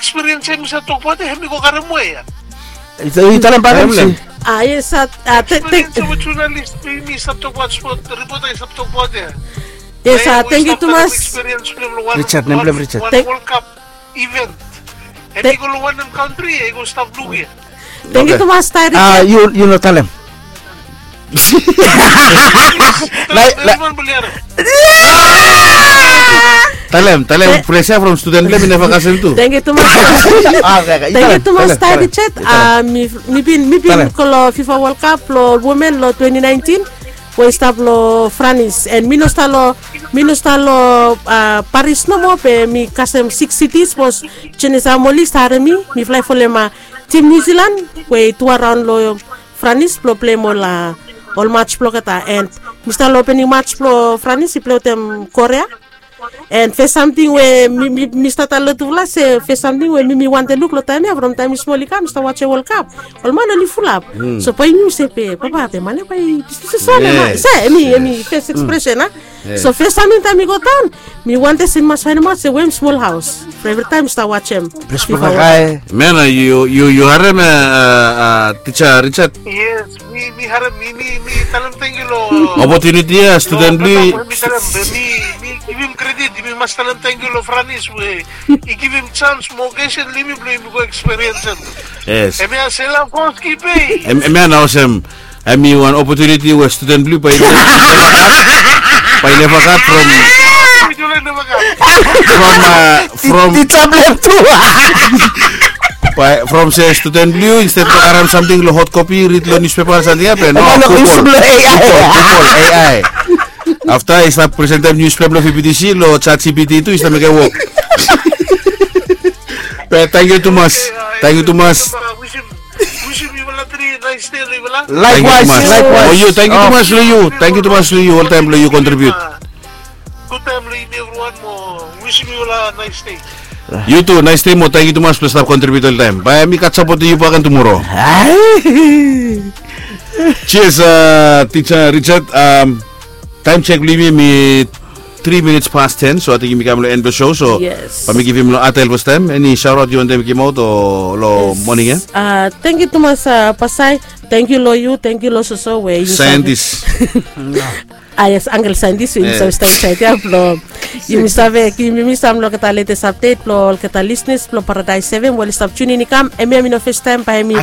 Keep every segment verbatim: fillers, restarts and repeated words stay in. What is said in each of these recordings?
Ekspiriens ya mi save tokbaot ya, hemi go karem we ya. Yu talem bae mi si. A yes, a tek tek. Ekspiriens ya we jurnalist mi mi save tokbaot, spot ripota i save tokbaot ya. Yes, a thank you tumas. Richard, nem blong Richard. World Cup event. Hemi go long wanem kantri, i go stap luk ya. Thank you tumas, Richard. A yu no talem. Talem, talem, pressure from student blong hem i neva kasem tu. Thank you tumas. Thank you tumas, Richard. Mi bin, mi bin go long FIFA World Cup long women long twenty nineteen, we i stap long Franis, and mi no stap long, mi no stap long Paris nomo, be mi kasem six cities, bikos Jenisa Moli i stap harem mi, mi flae folem tim New Zealand we i tu araon long Franis blong pleim ol, ol mats blong olgeta, and mi stap long opening mats blong Franis i plei wetem Korea. And fes samting we mi, mi, mi stap talem long tufala se fes samting we mi, mi wantem luk long taem ya, from taem mi smol i kam mi stap wajem World Cup. Ol man oli fulap. So bae yumi se be papa be man ya bae i, se, hemi, hemi fes ekspresen a. So fes samting taem mi go daon, mi wantem se mi mas faenemaot se we hem smol haos. From evri taem mi stap wajem. Ples blong hae. Mena, yu, yu, yu harem, a, a, tisa Richard? Yes, mi, mi harem, mi, mi, mi talem tangkiu long opotuniti ya, studen blong yu. Mi talem, mi, mi givim kredit, mi mas talem tangkiu long Franis we i givim sans mo okeson long yumi blong yumi go ekspiriensem. Yes. Hemia Sela Foski Bay. Hemia nao olsem, hemi wan opotuniti we studen blong yu bae i neva gat from, from, a, from, from se studen blong yu, insted blong karem samting long hot kopi, rid long niuspepa, samting ya, be no, Google, Google, Google, A I. Afta i stap presentem niuspepa blong VBTC long ChatGPT tu i stap mekem wok. Be tangkiu tumas. Tangkiu tumas. Wisim yufala tri nais dei long yufala. Likewise, likewise. Mo yu, tangkiu tumas long yu. Tangkiu tumas long yu oltaem blong yu kontribiut. Gud taem long yumi evriwan mo wisim yufala nais dei. Yu tu, nais dei mo tangkiu tumas blong stap kontribiut oltaem. Bae mi gat sapotem yu bakegen tumoro. Cheers, a, tisa Richard. Taem jek blong yumi hemi tri minits pas ten, so ating yumi kam long en blong show, so bae mi givim long Atel fastaem. Eni shaotaot yu wantem givimaot long moning ya? A, tangkiu tumas, a, Pasai. Tangkiu long yu, tangkiu long Soso we yu save. Saentis. A yes, angkel saentis we yumi save stap insaed ya blong yumi save givim yumi sam long olgeta letes apdet blong olgeta lisnas blong Paradaes Seven we oli stap tiunin i kam. Hemia hemi no fastaem, bae hemi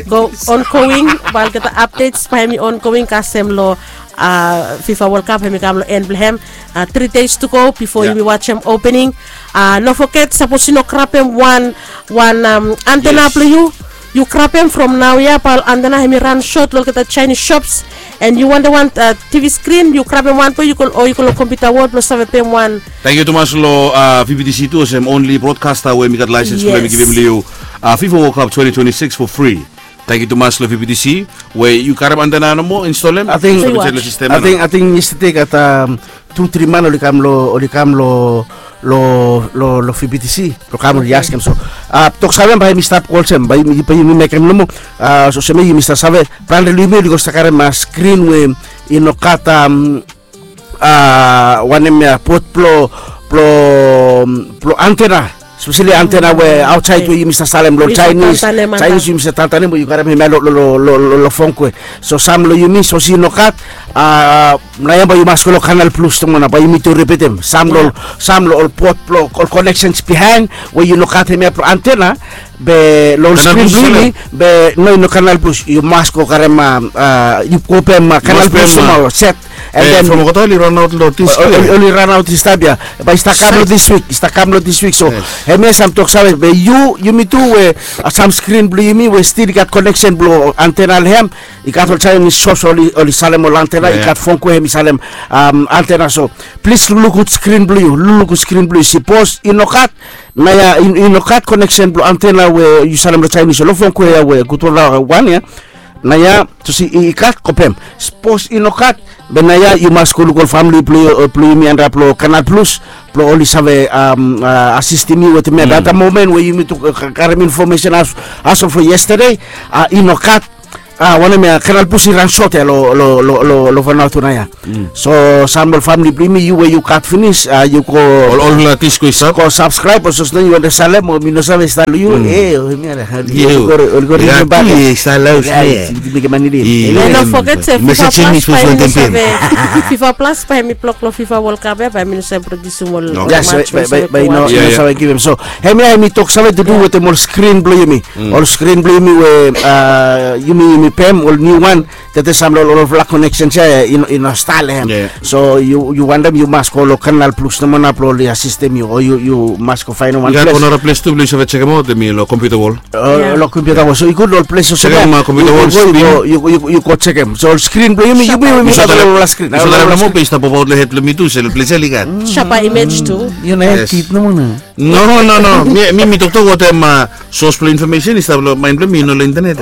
go ongoing, bae olgeta apdets bae hemi ongoing kasem long, a, FIFA World Cup hemi kam long en blong hem. A, tri deis tu go bifo yumi wajem opening. A, no foget, sapos yu no grabem wan, wan antena blong yu, yu grabem from naoia, bae ol antena hemi ran sot long olgeta Chinese shops. And yu wantem wan, a, TV skrin, yu grabem wan blong yu o yu go long kompiuta wol blong save peim wan. Tangkiu tumas long, a, VBTC tu olsem only broadcaster we mi gat laesens blong mi givim long yu, a, FIFA World Cup twenty twenty-six for free. Tangkiu tumas long VBTC we yu karem antena nomo, install hem. Ating, ating yestade gat tu tri man oli kam long, oli kam long, long, long VBTC blong kam oli askem. So, a, toksave bae hemi stap olsem, bae yumi, bae yumi mekem nomo. A, so olsem yumi stap save, branda long yumi oli go stap karem skrin we i no gat, a, wanem ya, bot blong, blong, blong antena. Espeseli antena we aotsaed we yumi save salem long Chinese. Chinese yumi save tantanem we yu karem hemia long, long, long fon kue. So sam long yumi sapos i no gat, a, naoia bae yu mas go long Canal Plus tumoa nao, bae yumi tu ripitim. Sam long, sam long ol bot blong ol koneksens bihaen we yu no gat hemia blong antena, be long skrin blong yumi, be no, i no Canal Plus, yu mas go karem, a, yu go peim Canal Plus tumoa set. And then from olgeta oli ranaot long dis wik. Oli ranaot distaem ya. Bae i stap kam long dis wik, i stap kam long dis wik. So hemia sam toksave, be yu, yumi tu we, a, sam skrin blong yumi we stil i gat koneksen blong antena long hem, i gat ol Chinese shops oli, oli salem ol antena, i gat fon kue hemi salem, am, antena. So plis lukluk gud skrin blong yu, lukluk gud skrin blong yu. Sapos i no gat, naoia, i, i no gat koneksen blong antena we yu salem long Chinese, long fon kue ya we gudfala wan ya. Naoia, sapos i, i gat, go peim. Sapos i no gat, be naoia yu mas go luk ol famili blong, blong yumi antap long Canal Plus blong oli save, am, a, asistem yu wetem hemia. At the moment we yumi tu, a, karem infomesen as, as of yesterday, a, i no gat, Ah, wanem ya, Kanal Plus i ran sot ya lo, lo, lo, lo, lo Vanuatu nao ya. So sam lo famili blong yumi, yu we yu gat finis, ah, yu go ol, ol, ah, tis go i sab. Go subscribe, olsem yu wantem salem, o mi no save stap lo yu. Eh, o mi ala. Yu go, ol go rimemba. Yu stap lo yu. Mekem mani. And don't forget se FIFA Plus bae yumi save, FIFA Plus bae yumi blok lo FIFA World Cup ya, bae yumi no save produce ol match, bae yumi no save givim. So hemia hemi tok save tu du wetem ol screen blo yumi. Ol screen blo yumi we, ah, yumi, yumi pem ol new one. Tete sam lo ol, ol connection ya i no, i no stap lo hem. So yu, yu wantem, yu mas go lo Kanal Plus nomo nao blo oli asistem yu, o yu, yu mas go faenem wan ples. Yu gat wan nara ples tu blo yu save jekemaot, hemi lo Computer World. Lo Computer World. So i gud lo ol ples olsem ya. Yu go, yu go jekem. So ol screen blo yumi, yumi, yumi save lo ol screen. Yu save lo hem nomo be i stap ovaot lo hed blo mi tu, se lo ples ya oli gat. Sapa image tu. Yu no hed kid nomo nao. No, no, no. Mi, mi, mi toktok wetem, ah, source blo information i stap lo mind blo mi, i no lo internet.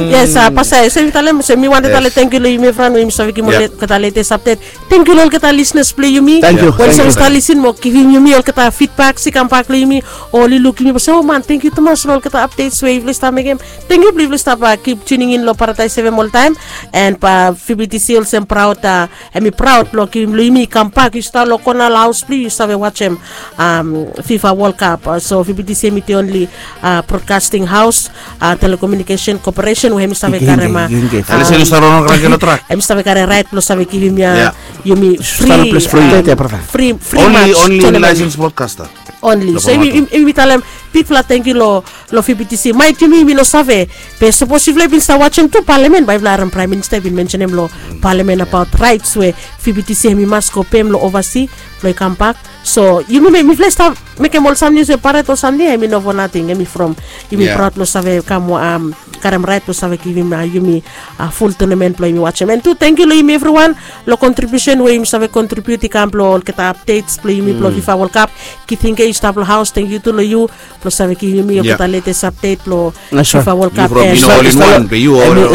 Yes, ah, pasai, se mi talem, se mi wantem talem tangkiu lo yumi evriwan we yumi save givim olgeta latest update. Tangkiu lo olgeta listeners blo yumi. Tangkiu. We oli save stap listen mo givim yumi olgeta feedback, se kambak lo yumi, oli luk yumi, se, o man, tangkiu tumas lo olgeta updates we yufala i stap mekem. Tangkiu blo yufala i stap, ah, keep tuning in lo Paradise F M oltaem. And, ah, V B T C olsem praod, ah, hemi praod blo givim lo yumi kambak, yu stap lo kona lo haos blo yu, yu save wajem, um, FIFA World Cup. Uh, so V B T C hemi the only, uh, broadcasting house, uh, telecommunication corporation we hemi save karem, uh, hemi save karem raet blo save givim, uh, yumi free, uh, free, free match tournament. Only, only licensed broadcaster. Only. So yumi, yumi talem bigfala tangkiu lo lo V B T C. Maet yumi, yumi no save. Be sapos yufala i bin stap wajem tu Palamen, bae yufala harem Praem Minista i bin mensenem lo Palamen abaot raets we V B T C hemi mas go pem lo ovasi blo i kambak. So yumi, mifala i stap mekem ol samting olsem pared o samting ya, hemi no fo nating, hemi from yumi praod lo save kam, um, karem raet lo save givim, uh, yumi, uh, ful tournament blo yumi wajem. And tu tangkiu lo yumi evriwan lo contribution we yumi save contribute i kam blo olgeta updates blo yumi blo FIFA World Cup. Kiting ke yu stap lo haos, tangkiu tu lo yu blo save givim yumi olgeta latest update blo FIFA World Cup. Yu from, yu no, all in one, be yu all, all in.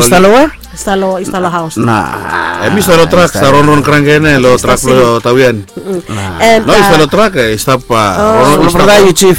Stap lo, stap lo haos. Hemi stap lo trak, stap ronron kranke nao lo trak blo Tawian. And, no, uh, stap lo trak, eh, stap, uh, ronron, stap lo. Chief.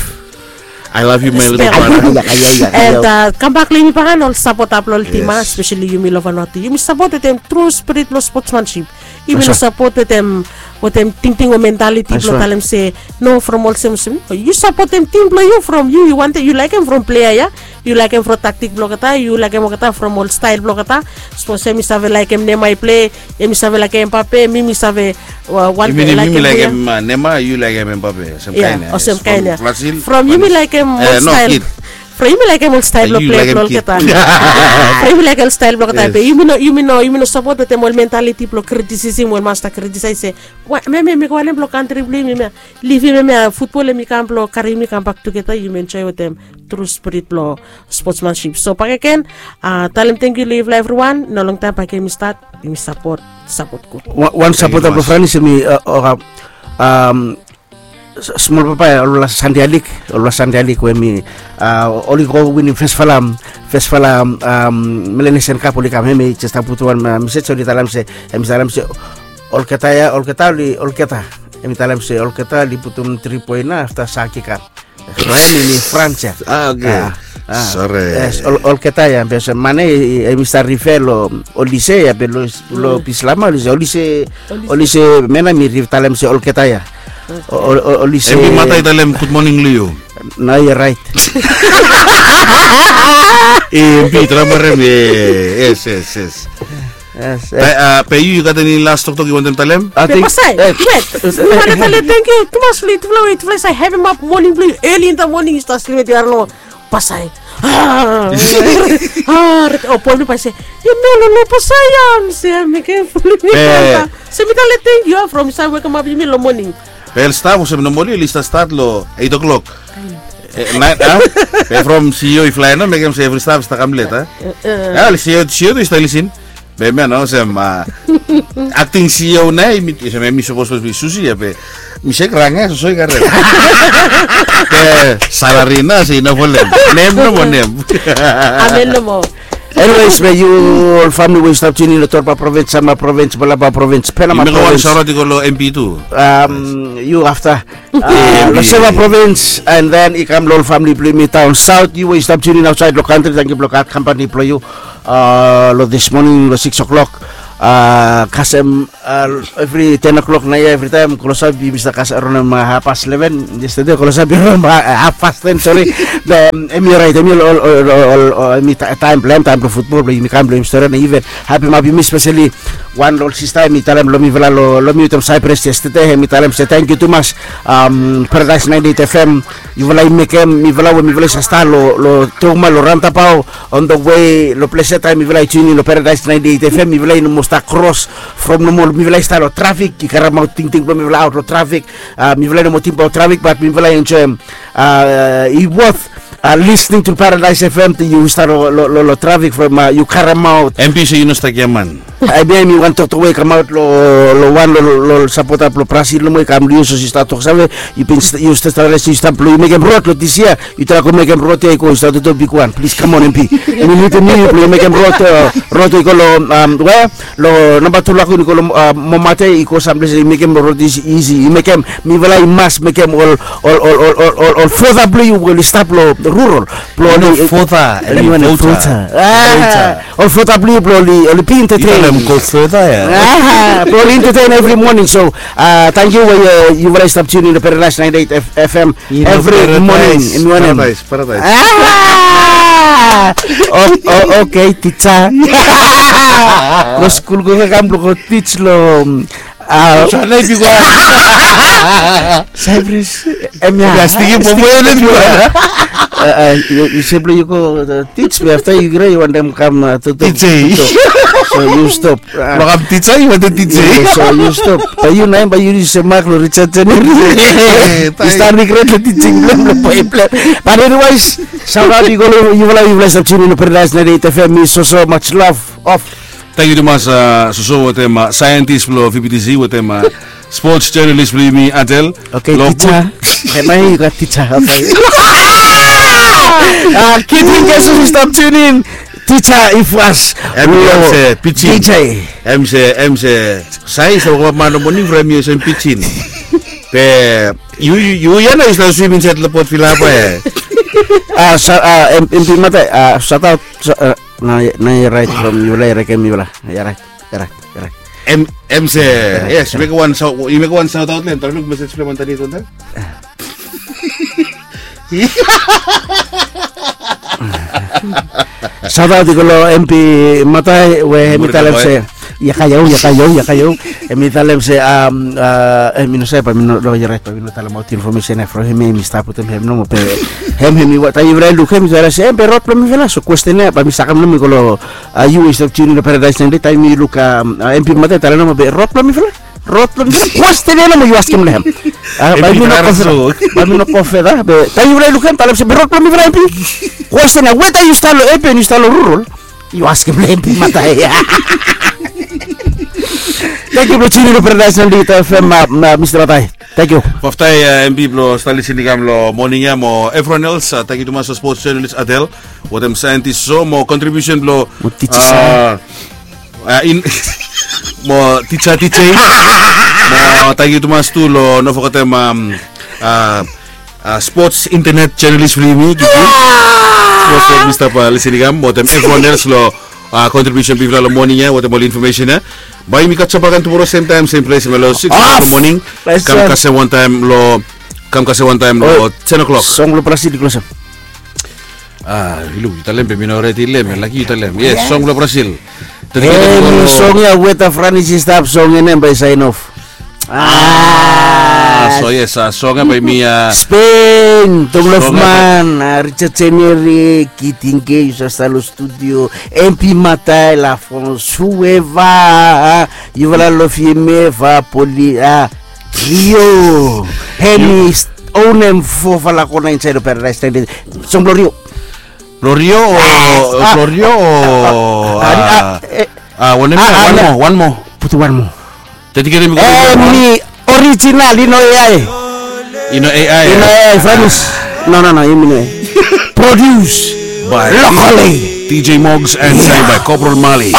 I love you, my little brother. And, uh, kambak lo yumi bae ol sapota blo ol tim, uh, especially yumi lo Vanuatu. Yumi sapot wetem tru spirit blo sportsmanship. Yumi no sapot wetem, wetem tingting o mentality blo talem se, no, from olsem olsem. Yu sapotem tim blo yu from yu, yu wantem, yu laekem from player ya. Yu laekem from tactic blo olgeta, yu laekem olgeta from ol style blo olgeta. Sapos hemi save laekem Neymar i play, hemi save laekem Mbappe, mi, mi save, uh, wantem laekem, mi laekem, uh, Neymar, yu laekem Mbappe. Olsem kaen ya. From yumi laekem ol style. From yumi laekem ol style blo play blo olgeta. From yumi laekem ol style blo olgeta. Be yumi no, yumi no, yumi no sapot wetem ol mentality blo criticism, ol mas stap criticize se, wa, me, me, me go wanem blo kantri blo yumi, me livim hemia, futbol hemi kam blo karim yumi kambak tugeta, yumi enjoy wetem tru spirit blo sportsmanship. So bakegen, ah, talem tangkiu lo yufala evriwan, no longtaem bakegen yumi stat, yumi sapot, sapot gud. Wan sapota blo Franis hemi, ah, smol papa ya, olfala Sande Alik, olfala Sande Alik we hemi, ah, oli go winim fesfala, fesfala, ah, Melanesian Cup oli kam, hemi jes stap putum wan, ah, mesej, oli talem se, hemi talem se, olgeta ya, olgeta oli, olgeta. Hemi talem se olgeta oli putum tri poen nao afta Saki kam. Raen ini Frans ya. Ah, oke. Sore. Yes, olgeta ya, be olsem man ya, hemi stap rife lo Olise ya, be lo, lo Bislama, Olise, Olise, Olise men ya, hemi rife talem se olgeta ya. Olise. Hemi matai talem gud moning lo yu. Nao yu raet. Hemi traem harem, yes, yes, yes. Yes, yes. Be, ah, be yu, yu gat eni las toktok yu wantem talem? Be pasai, wet. Mi wantem talem tangkiu tumas lo yutufala we yutufala i save hevemap moning blo yu, early in the morning yu stap slem, yu harem lo pasai. Ah, o boem lo pasai. Yu no, no, no, pasai ya, mi se, mi ken ful mi. Se mi talem tangkiu from yu save wekemap yumi lo moning. Be ol staf olsem nomali oli stap stat lo eight o'clock. Eh, naen, ah? Be from C E O i flae nao, mekem se evri staf i stap kam let, ah? Eh, ol C E O, C E O tu i stap lisin. Be hemia nao olsem, ah, acting C E O nao, hemi, olsem hemi sapos, sapos i Susi ya, be mi se krang ya, soso i karem. Be salary nao se i no folem. Nem nomo, nem. Amen nomo. Anyways, be yu ol famili we yu stap tune in lo Torba Province, Sanma Province, Balaba Province, Penama Province. Yu mekem wan shout out i go lo M P tu. Um, yu afta. Lo Seva Province, and then i kam lo ol famili blo yumi down south, yu we yu stap tune in outside lo country, tangkiu blo gat company blo yu. Uh, lo this morning lo six o'clock. Uh, kasem uh, every ten o'clock nao ya, every time klosap i mista kas around um, uh, half past eleven. Yesterday klosap i around um, uh, half past ten, sorry. Be um, em i orait, em i ol ol ol ol ol em i taem blo em, taem blo futbol blo yumi kam blo yumi stori na even. Hapi mapi mi specially wan lo ol sista em i talem lo mifala lo lo mi wetem Cyprus yesterday, em i talem se tangkiu tumas. Um, Paradise ninety eight F M, yufala i mekem mifala we mifala i sa stap lo lo Tokma lo roundabout on the way lo ples ya, taem mifala i tune in lo Paradise ninety eight F M, mifala i no moa stap kros from nomo, mifala i stap lo trafik, i karemaot tingting blo mifala aot lo trafik. Uh, mifala i no moa tingbaot trafik, bat mifala i enjoem. Uh, i worth uh, listening to Paradise F M taem yu stap lo lo lo, lo trafik from uh, yu karemaot. M P se yu no stap giaman. Ai be mi wan toktok we i kamaot lo lo wan lo lo sapota blo Brazil nomo i kam lo yu, so yu stap toksave, yu bin yu stap stap yu stap blo yu mekem rod lo dis yia. Yu traem go mekem rod ya i go, yu stap totok bigwan. Plis, kam on, M P. Mi nidim yu blo yu mekem rod, rod i go lo um, we lo namba tu lakun i go lo uh, Momate, i go samples, i mekem rod isi, isi, i mekem mifala i mas mekem ol ol ol ol ol ol fota blo yu we oli stap lo rural. Blo oli fota, fota. Ol fota blo yu blo oli oli be entertain. Go further ya. Blo oli entertain every morning. So uh, tangkiu we uh, yufala i stap tune in lo Paradise ninety eight F M every morning. Paradise, Paradise. Ah! Oh, oh, okay, tija. Lo skul go kam blo go tij lo um, uh, Cyprus. Em ya. Yu save blo yu go uh, tij be afta yu gre yu wantem kam uh, tutu. So yu stop. Blo kam tija, yu wantem tija. So yu stop. Bae yu naem bae yu yusum mak lo Richard January. Yu stap regret lo tijing blo em, lo boe blo em. But anyways, shout out i go lo yufala, yufala i stap tune in lo Paradise ninety eight F M. Mi soso, much love. Off. Tangkiu tumas uh, soso wetem uh, scientist blo V B T C wetem uh, sports journalist blo yumi Adel. Okay, tija. Kemai yu gat tija. Okay. Uh, kidding, guess who stap tune in? Tija Ifwas. Em se pijin. Em se, em se. Science o man o moning from yu se pijin. Be yu yu yu ya nao yu stap swim insaed lo Port Vila bae. Ah, sa ah, em em mata ah, shout out. Nao nao yu rait from yufala yu rait kem yufala. Yu rait, yu rait, yu rait. Em em se. Yes, yu mekem wan shout, yu mekem wan shout out lo hem. Tara luk message blo hem antaniet wantaem. Shout out i go lo M P Matai we hem i talem se. Ia kaiau, ia kaiau, ia kaiau. Hem i talem se um uh hem i no save bae mi no lo yu rait bae mi no talemaot infomesen ya from hem, hem i stap wetem hem nomo be hem hem i wata yufala i luk hem i talem se hem be rod blo mifala. So kwesten ya bae mi sakem nomo i go lo uh yu i stap tune in lo Paradise ninety eight, taem i luk um uh M P Matai talem nomo be rod blo mifala. Rod blo mifala. Kwesten ya nomo yu askem lo hem. Ah, bae mi no go feda. Bae mi no go feda be taem yufala i luk hem talem se be rod blo mifala, M P. Kwesten ya weta yu stap lo urban, yu stap lo rural. Yu askem lo M P Matai. Tangkiu blo tune in lo Paradise ninety eight F M, uh, Mister Matai. Tangkiu. Bafta uh, M P blo stap lisin i kam lo moning ya mo everyone else, uh, tangkiu tumas lo sports journalist Adel wetem scientist so mo contribution blo mo tija. Uh, uh, in mo tija tija. Mo tangkiu tumas tu lo no fogetem um, uh, uh, sports internet journalist blo yumi Kiki. Sports blo Mister Palisiniga mo wetem everyone else lo uh, contribution blo yufala lo moning ya wetem ol information ya. Bae yumi catch up agen tumoro same time same place lo six o'clock lo moning. Kam kasem wantaem lo kam kasem wantaem lo ten o'clock. Song blo Brazil i klosem. Ah, yu luk, yu talem be mi no redi lo hem, laki yu talem. Yes, song blo Brazil. Em, song ya weta Franis i stap song ya, nem bae sign off. Ah, so yes, ah, song ya bae mi ah Spain, Tonglof Man, ah, Richard Seneri, Kiting Ke, yu sa stap lo studio, M P Matai, La France, whoever, ah, yufala lo F M F, ah, Poli, ah, Rio, Hemi, Onem, fofala kona insaed lo Paradise Tangde. Song blo Rio. Blo Rio o, blo Rio o, ah, ah, wanem ya, wan moa, wan moa. Putum wan moa. Dediketem i go. Hemi orijinal, i no A I. I no A I. I no A I, Franis. No, no, no, hemi no A I. Produce. by Locally. D J Mogs and sang by Corporal Mali.